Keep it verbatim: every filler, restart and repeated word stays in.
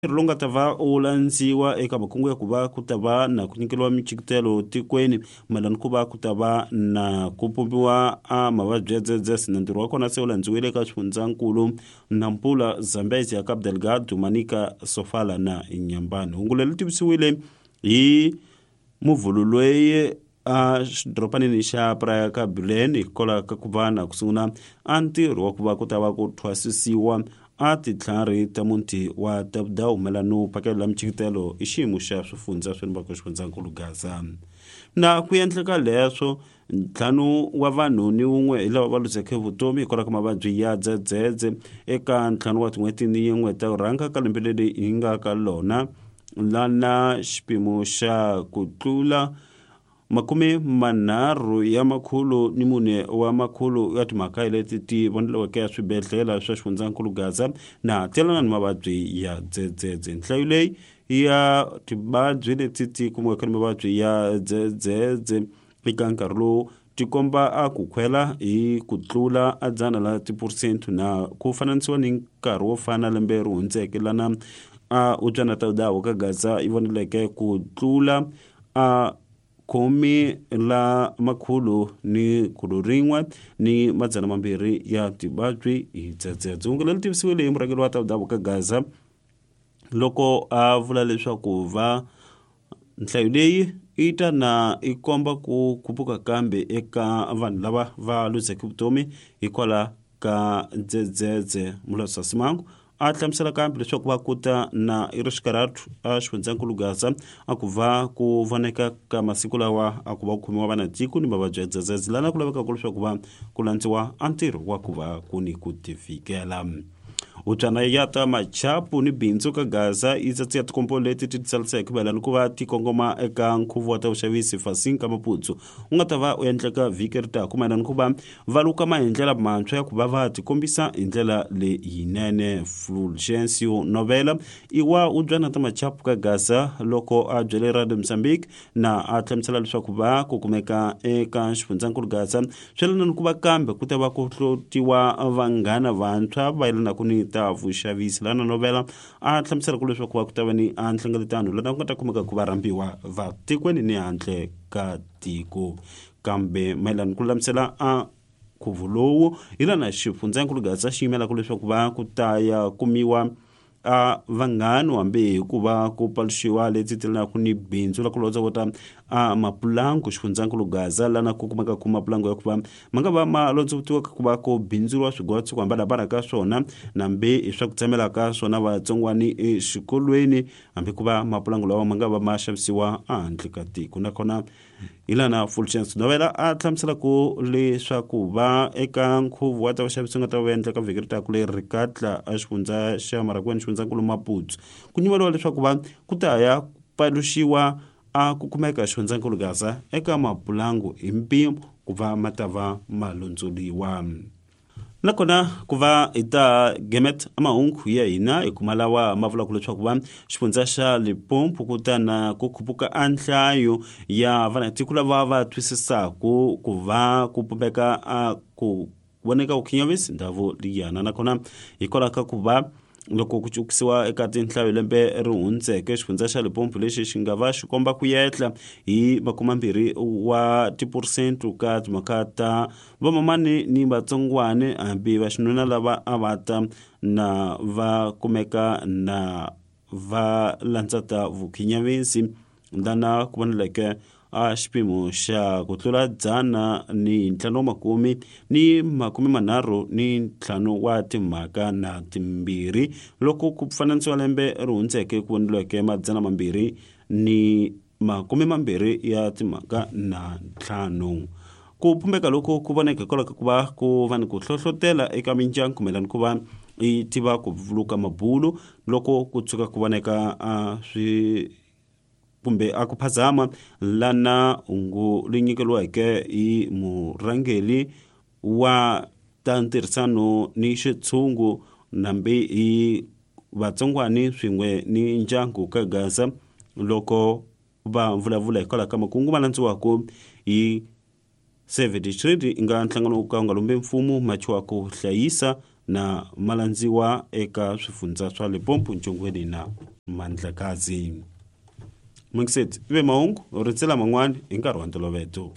Ntirho lowu nga ta va wu landziwa eka makungu ya ku va ku ta va na ku nyikeriwa michikitelo tikweni mayelana ku va ku ta va na ku pompiwa a mavabyi ya dzedzese na ntirho wa kona se wu landziwile eka swifundzankulu Nampula, Zambezi ya Cabo Delgado, Manica, Sofala na Nyambani. Hungu leri tivisiwile hi muvhulu loyi a xidoropanini xa Praia ka Belém hikwalaho ka ku va na ku sungula a ntirho wa ku va ku ta va ku thwasisiwa a titlhari ta muti wa Tabdau mayelana no phakela michikitelo i xiyimo xa swifundza swa le xifundzankulu Gaza. Na ku endleka leswo ntlhanu wa vanhu ni wun'we hi lava va luzeke vutomi hikwalaho ka mavabyi ya dzedzedze eka ntlhanu wa tin'hweti ni yin'we ta rhanga ka lembe leri hi nga ka lona lana xipimo xa ku tlula makume manharhu ya makhulu ni mune wa makhulu ya timhaka leti ti voneliweke swibedhlele swa xifundzankulu Gaza na telana ni mavabyi ya dzedzedze. Nhlayo leyi ya tivabyi leti ti kumiweke ni mavabyi ya dzedzedze eka nkarhi lowu ti komba a ku khwela hi ku tlula a dzana la tiphesente na ku fananisiwa ni nkarhi wo fana lembe ri hundzeke lana a utswana ta dawo ka Gaza yi voneleke ku tlula a khume la makhulu ni khulu rin'we ni madzana mambirhi ya tivabyi hi dzedzedze. Hungu leri tivisiwile hi murhangeri wa ta ka Gaza loko a vula leswaku va nhlayo leyi yi ta na yi komba ku khuphuka kambe eka vanhu lava va luzeke vutomi hikwalaho ka dzedzedze. Mulawuri Simango a hlamusela kambe leswaku va kuta na i ri xikarhatu a xifundzankulu Gaza a ku va ku voneka ka masiku lawa a ku va ku khomiwa vana tiko ni mavabyi ya dzedzedze lana ku lavekaka leswaku va ku landziwa a ntirho wa ku va ku ni ku tivikela. Hubyana ya ta machapu ni bindzu ka Gaza yi tsatsi ya tikompo leti ti tsaliseke mayelana ku va ti kongoma eka nkhuvo wa ta vuxavisi Fasinka Maputsu wu nga ta va u endleka vhiki ri taka mayelana ku va va lukama hi ndlela mantshwa ya ku va va tikombisa hi ndlela leyinene. Fulgencio Novela i wa hubyana ta machapu ka Gaza loko a byele Radio Mozambique na a hlamusela leswaku va ku kumeka eka xifundzankulu Gaza swi yelana ni ku va kambe ku ta va ku hlotiwa vanghana vantshwa va yelanaka ni ta vuxavisi. Lana Novela a hlamusela ku leswaku va ku ta va ni a nhlengeletano lana ku nga ta kumeka ku va rhambiwa va tikweni ni handle ka tiko kambe mayelana ku lulamisela a nkhuvo lowu hi lana xifundzankulu Gaza xi yimelaka leswaku va ku ta ya kumiwa a vanghani hambi hikuva ku paluxiwa leti telanaka ni bindzu la ku londzovota a mapulangu xifundzankulu Gaza lana ku kumeka ku mapulangu ya ku va ma nga va ma londzovotiwa ku va ku bindzuriwa swigwatsi ku hambanahambana ka swona nambi hi swa ku tsamela ka swona vatsongwani exikolweni hambi ku va mapulangu lawa ma nga va ma xavisiwa ehandle ka tiko. Nakona hi lana Fulgence Novela a hlamusela ku leswaku va eka nkhuvo wa ta vaxavisi nga ta va endleka vhiki ri taka leri rikatla a xifundza xa Maragweni xifundzankulu Maputsu ku nyimeliwa leswaku va ku ta ya paluxiwa a ku kumeka xifundzankulu Gaza eka mapulangu hi mpimo ku va ma ta va ma londzoliwa. Nakona ku va hi ta gemet mahungu ya hina hi kuma lawa ma vulaka leswaku va xifundza xa Limpopo ku ta na ku khuphuka a nhlayo ya vanatiko lava va twisisaku ku va ku pumbeka a ku voneka ku khinyavisi ndhawu liyana. Nakona hikwalaho ka ku va loko ku cukisiwa eka tinhlayo lembe ri hundzeke xifundza xa Limpopo lexi xi nga va xi komba ku yehla hi makumembirhi wa tiphesente ka timhaka ta vamamani ni vatsongwani hambi va xinuna lava a va ta na va kumeka na va landza ta vukhinyavisi lana ku voneleke a xipimo xa ku tlula dzana ni ntlhanu wa makume ni makume manharhu ni ntlhanu wa timhaka na timbirhi loko ku fananisiwa lembe ri hundzeke ku voneliweke madzana mambirhi ni makume mambirhi ya timhaka na ntlhanu. Ku pumbeka loko ku voneka hikwalaho ka ku va ku va ni ku hlohlotela eka mindyangu mayelana ku va yi tiva ku vuluka mabulu loko ku tshuka ku voneka a swi kumbe a ku phazama lana hungu ri nyikeriweke hi murhangeri wa ta ntirhisano ni xitshungu nambi hi vatsongwani swin'we ni ndyangu ka Gaza loko va vulavula hikwalaho ka makungu ma landziwaka hi Save the Children nga nhlangano wo ka wu nga lumbi mfumo machiwa ku hlayisa na malandziwa eka swifundza swa Limpopo, Ntshongweni na Mandlakazi. Mungiseti ve mahungu rintsela man'wani hi nkarhi wa ntoloveto.